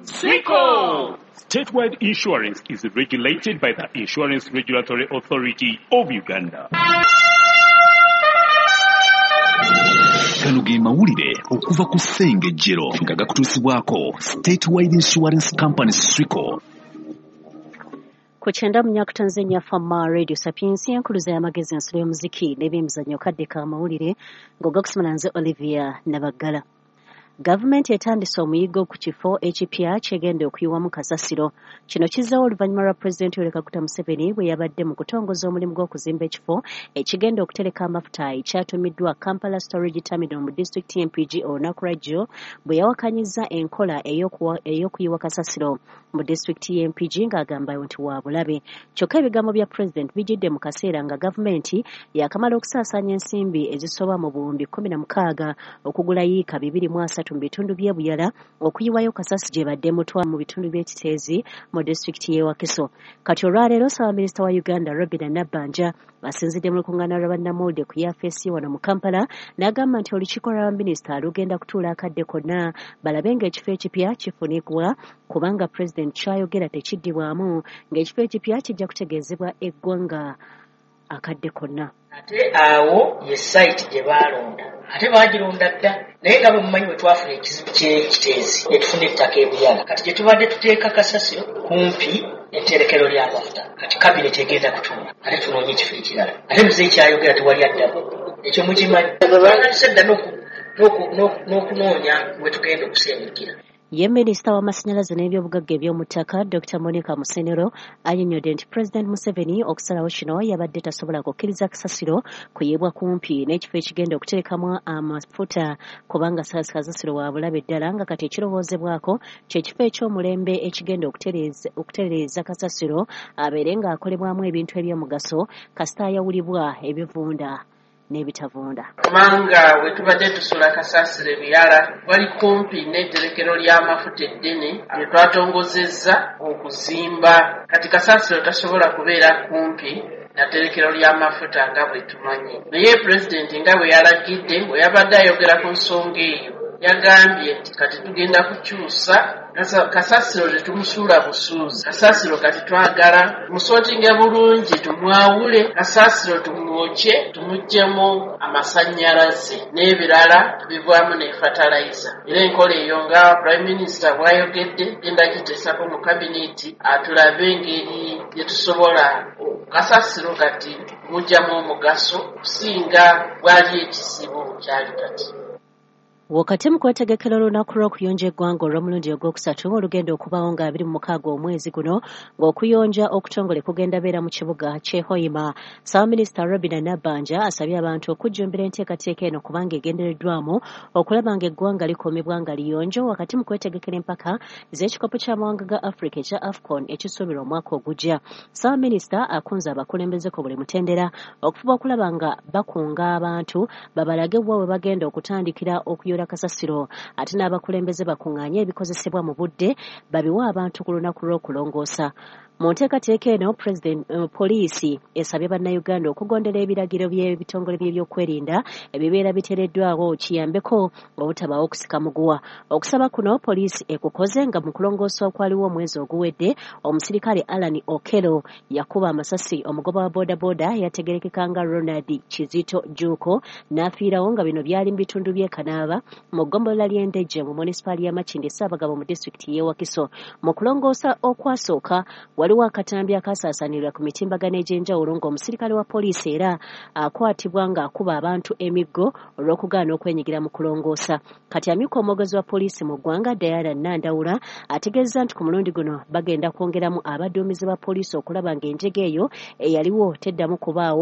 Swico! Statewide Insurance is regulated by the Insurance Regulatory Authority of Uganda. Gano ge mawulire okuva ku Ssengejjero nga gakutuusibwako Statewide Insurance Company Swico. Ku 94.4 Fama Radio Sapiensia enkuluza y'amagezi, ensulo y'omuziki n'ebyemizannyo, kadde ka mawulire ng'ogakusomera nze Olivia Nabaggala. Gavumenti etandise omuyiggo ku kifo ekipya kyegenda okuyiwamu kasasiro. Kino kizzeewo oluvannyuma lwa Pulezidenti Yoweri Kaguta Museveni bwe yabadde mu kutongoza omulimu gw'okuzimba ekifo ekigenda okutereka amafuta ekyatuumiddwa Kampala Storage Terminal mu disitulikiti y'e Mpigi olunaku lwajjo, bwe yawakanyizza enkola ey'okuyiwa kasasiro mu disitulikiti y'e Mpigi ng'agamba nti wa bulabe. Kyokka ebigambo bya Pulezidenti bijjidde mu kaseera nga gavumenti yaakamala okusaasaanya ensimbi ezisoba mu 16,000 okugula yiika 230 mu bitundu by'e Buyala okuyiwayo kasasiro gye badde mutwa mu bitundu by'e Kiteezi mu disitulikiti y'e Wakiso. Kati olwaleero Ssaabaminisita wa Uganda Robinah Nabbanja asinzidde mu lukuŋŋaana lwa bannamawulire ku yafeesi wano mu Kampala n'agamba nti olukiiko lwa baminisita lugenda kutuula akadde konna balabe ng'ekifo ekipya kifunibwa, kubanga Pulezidenti ky'ayogera tekiddibwamu, ng'ekifo ekipya kijja kutegeezebwa eggwanga akadde konna. Ate awo ye site gye baalonda, ate baagironda dda, naye nga bwe mumanyi bwe twafuna ekizibu ky'e Kiteezi ne tufuna ettaka e Buyala, kati gye tubadde tuteeka kasasiro kumpi etterekero ly'amafuta. Kati kabineti egenda kutuula ate tunoonye ekifo ekirala, ate muzeeyi kyayogera tewali addamu, ekyo mukimanyi. Twatandise dda n'okunoonya we tugenda okusengukira. Ye minisita w'amasannyalaze n'ebyobugagga eby'omu ttaka Dr. Monica Musenero annyonnyodde nti Pulezidenti Museveni okusalawo kino yabadde tasobola kukkiriza kasasiro kuyiibwa kumpi n'ekifo ekigenda okuterekamu amafuta, kubanga kasasiro wa bulabe ddala, nga kati ekirowoozebwako ky'ekifo eky'omulembe ekigenda okutereeza kasasiro abeere ng'akolebwamu ebintu eby'omugaso kasita ayawulibwa ebivunda n'ebitavunda. Kubanga we tubadde tusula kasasiro e Buyala wali kumpi n'etterekero ly'amafuta eddene lye twatongozezza okuzimba. Kati kasasiro tasobola kubeera kumpi na tterekero ly'amafuta nga bwe tumanyi. Naye Pulezidenti nga bwe yalagidde, bwe yabadde ayogera ku nsonga eyo, yagambye nti kati tugenda kukyusa kasasiro, tetumusuula busuuzi. Kasasiro kati twagala musortinge bulungi, tumwawule kasasiro, tumwokye, tumuggyemu amasannyalaze n'ebirala tubivaamu ne fertilizer. Era enkola eyo nga Prime Minister bw'ayogedde genda giteesako mu kabineti atulabe engeri gye tusobola kasasiro kati mugyamu omugaso okusinga bwali ekizibu kyali kati. Wakati mu kwetegekera olunaku lw'okuyonja eggwanga olw'omulundi ogwokusatu olugenda okubaawo nga 26 omwezi guno, ng'okuyonja okutongole kugenda beera mu kibuga ky'e Hoima, Ssaabaminisita Robinah Nabbanja asabye abantu okujjumbira enteekateeka eno kubanga egendereddwamu okulaba ng'eggwanga likuumibwa nga liyonjo wakati mu kwetegekera empaka z'ekikopo ky'amawanga ga Africa ekya AFCON ekisuubirwa omwaka ogujja. Ssaabaminisita akunze abakulembeze ku buli mutendera okufuba okulaba nga bakunga abantu babalage wa we bagenda okutandikira okuyonja kasasiro, ate n'abakulembeze bakuŋŋaanye ebikozesebwa mu budde babiwe abantu ku lunaku lw'okulongoosa. Mu nteekateeka eno, poliisi esabye bannayuganda okugondera ebiragiro by'ebitongole by'ebyokwerinda ebibeera biteereddwawo kiyambeko obutabaawo okusika muguwa. Okusaba kuno poliisi ekukoze nga mu kulongoosa okwaliwo omwezi oguwedde, omusirikale Alan Okello yakuba amasasi omugoba wa boodabooda yategerekeka nga Ronald Kizito Juuko n'afiirawo, nga bino byali mu bitundu by'e Kanaaba mu ggombolola ly'e Ndejje mu munisipaali ya Makindye Ssaabagabo mu disitulikiti y'e Wakiso. Mu kulongoosa okwasooka waliwo akatambi akasaasaanirwa ku mitimbagano egy'enjawulo ng'omusirikale wa poliisi era akwatibwa ng'akuba abantu emiggo olw'okugaana okwenyigira mu kulongoosa. Kati amyuka omwogezi wa poliisi mu ggwanga Diana Nandawula ategeezezza nti ku mulundi guno bagenda kwongeramu abaduumizi ba poliisi okulaba ng'enjega eyo eyaliwo teddamu kubaawo.